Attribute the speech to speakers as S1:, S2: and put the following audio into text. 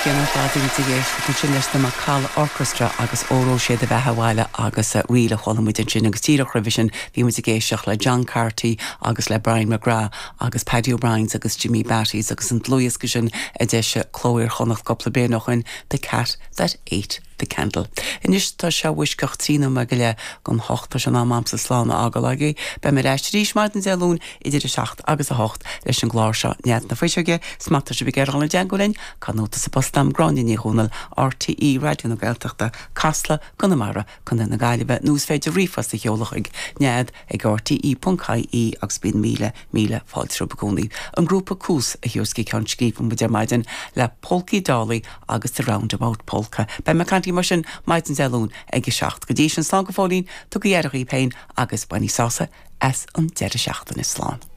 S1: Cé nach raibh muid ag éisteacht ansin leis na Macalla Orchestra agus Óró Sé do Bheatha Abhaile agus Ríl a chuala muid ansin agus díreach roimhe sin bhí muid ag éisteacht le John Carty agus le Brian McGrath agus Paddy O'Briens agus Jimmy Beatties agus an dlúthdhiosca sin a d'eisigh Cló Iar-Chonnacht cúpla bliain ó shoin, The Cat That Ate The Candle. Anois tá sé i bhfoisceacht 13 nóiméad don hocht, tá sé in am a'msa slán a fhágáil agaibh. Beidh mé ar ais arís maidin Dé Luain idir 7 agus 8 leis an gclár seo Nead na Fuiseoige, 's má tá sibh ag iarraidh dul i dteagmháil linn, cuir nóta sa bpost a'm, Gráinne Ní Dhomhnaill, RTÉ Raidió na Gaeltachta, Casla, Conamara, Co. na Gaillimhe, nó is féidir ríomhphost a sheoladh chuig nead ag rte.ie agus bíonn míle, míle fáilte romhaibh i gcónaí. An grúpa Cuas a thabharfas go ceann scríbe muid ar maidin le Polcaí Dálaí agus The Roundabout Polka. Beidh mé ag caint libh mar sin maidin Dé Luain ag a 7. Go dtí sin, slán go fóillín, tugaigí aire dhaoibh féin agus bainigí sásamh as an deireadh seachtaine. Slán.